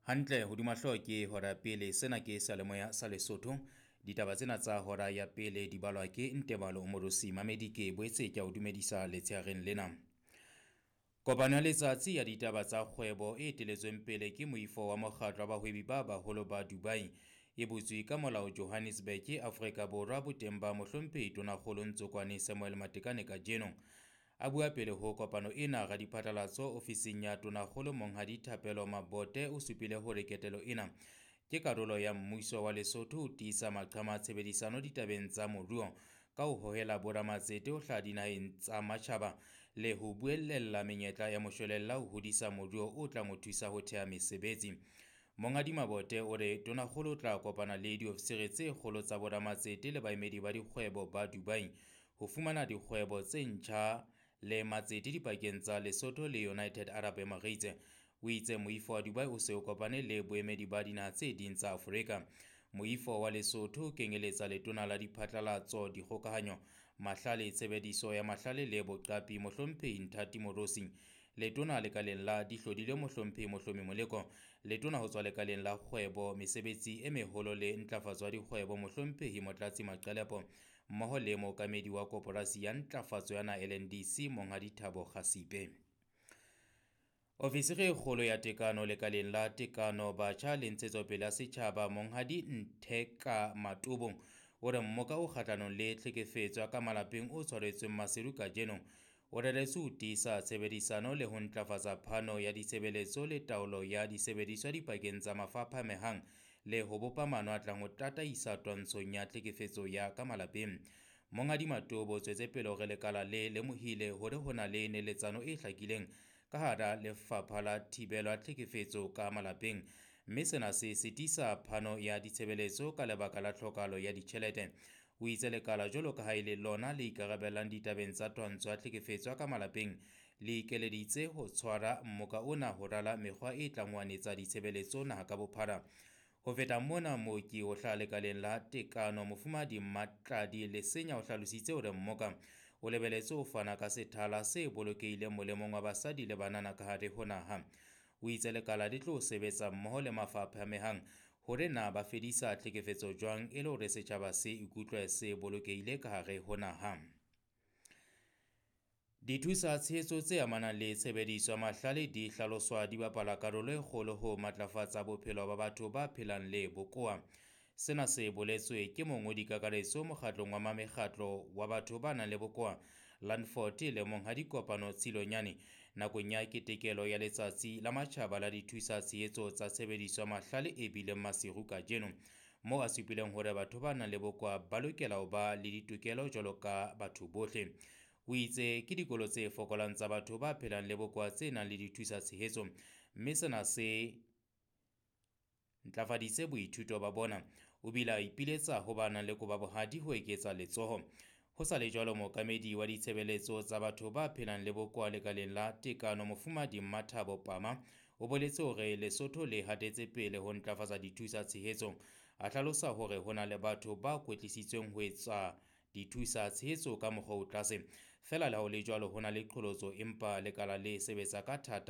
Hantle hodima hlooho ke hora ya pele. Sena ke seyalemoya sa Lesotho. Ditaba tsena tsa hora ya pele di balwa ke Ntebalo Morosi. Mamedi ke boetse ke a o dumedisa letshehareng lena. Kopano ya letsatsi ya ditaba tsa kgwebo e eteletsweng pele ke moifo wa mokgatlo wa bahwebi ba baholo ba Dubai e butswe ka molao Johannesburg, Afrika Borwa, boteng ba mohlomphehi Tonakgolo Ntsokwane Samuel Matekane kajeno. A bua pele ho kopano ena, radiphatlalatso ofising ya Tonakgolo Monghadi Thapelo Mabote o supile hore ketelo ena ke karolo ya mmuso wa Lesotho ho tiisa maqhama a tshebedisano ditabeng tsa moruo ka ho hohela boramatsete ho hlaha dinaheng tsa matjhaba le ho buellella menyetla ya moshwelella ho hodisa moruo o tlang ho thusa ho thea mesebetsi. Monghadi Mabote o re Tonakgolo o tla kopana le diofisiri tse kgolo tsa boramatsete le baemedi ba dikgwebo ba Dubai ho fumana dikgwebo tse ntjha le matsete dipakeng tsa Lesotho le United Arab Emirates. O itse moifo wa Dubai o se o kopane le boemedi ba dinaha tse ding tsa Afrika. Moifo wa Lesotho o kenyeletsa letona la diphatlalatso, dikgokahanyo, mahlale, tshebediso ya mahlale le boqapi mohlomphehi Nthati Moorosi, letona lekaleng la dihlodile mohlomphehi Mohlomi Moleko, letona ho tswa lekaleng la kgwebo, mesebetsi e meholo le ntlafatso ya dikgwebo mohlomphehi Motlatsi Maqelepo, mmoho le mookamedi wa koporasi ya ntlafatso ya naha LNDC Monghadi Thabo Kgasipe. Ofisiri e kgolo ya tekano lekaleng la tekano batjha le ntshetsopele ya setjhaba Monghadi Ntheka Matobo o re mmoka o kgahlanong le tlhekefetso ya ka malapeng o tshwaretsweng Maseru kajeno o reretswe ho tiisa tshebedisano le ho ntlafatsa phano ya ditshebeletso le taolo ya disebediswa dipakeng tsa mafapha a amehang le ho bopa maano a tlang ho tataisa twantshong ya tlhekefetso ya ka malapeng. Monghadi Matobo o tswetse pele hore lekala le lemohile hore ho na le neletsano e hlakileng ka hara lefapha la thibelo ya tlhekefetso ka malapeng, mme sena se sitisa phano ya ditshebeletso ka lebaka la tlhokahalo ya ditjhelete. O itse lekala jwalo ka ha e le lona le ikarabellang ditabeng tsa twantsho ya tlhekefetso ya ka malapeng le ikeleditse ho tshwara mmoka ona ho rala mekgwa e tlang ho anetsa ditshebeletso naha ka bophara. Ho feta mona, mooki ho hlaha lekaleng la tekano Mofumahadi Mmatladi Lesenya o hlalositse hore mmoka o lebeletse ho fana ka sethala se bolokehileng molemong wa basadi le banana ka hare ho naha. O itse lekala le tlo sebetsa mmoho le mafapha a amehang hore na ba fedisa tlhekefetso jwang e le hore setjhaba se ikutlwe se bolokehile ka hare ho naha. Dithusa tshehetso tse amanang le tshebediso ya mahlale di hlaloswa di bapala karolo e kgolo ho matlafatsa bophelo ba batho ba phelang le bokowa. Sena se boletswe ke mongodi kakaretso mokgatlong wa mekgatlo wa batho ba nang le bokowa Landford le monghadi Kopano Tshilonyane nakong ya ketekelo ya letsatsi la matjhaba la dithusa tshehetso tsa tshebediso ya mahlale e bileng Maseru kajeno, moo a supileng hore batho ba nang le bokowa ba lokela ho ba le ditokelo jwalo ka batho bohle. O itse ke dikolo tse fokolang tsa batho ba phelang le bokowa tse nang le dithusa tshehetso, mme sena se ntlafaditse boithuto ba bona. O bile a ipiletsa ho ba nang le koba bohadi ho eketsa letsoho. Ho sa le jwalo, mookamedi wa ditshebeletso tsa batho ba phelang le bokowa lekaleng la tekano Mofumahadi Mmathabo Pama o boletse hore Lesotho le hatetse pele ho ntlafatsa dithusa tshehetso. A hlalosa hore ho na le batho ba kwetlisitsweng ho etsa dithusa tshehetso ka mokgwa o tlase. Feela le ha ho le jwalo, ho na le qholotso empa lekala le sebetsa ka thata.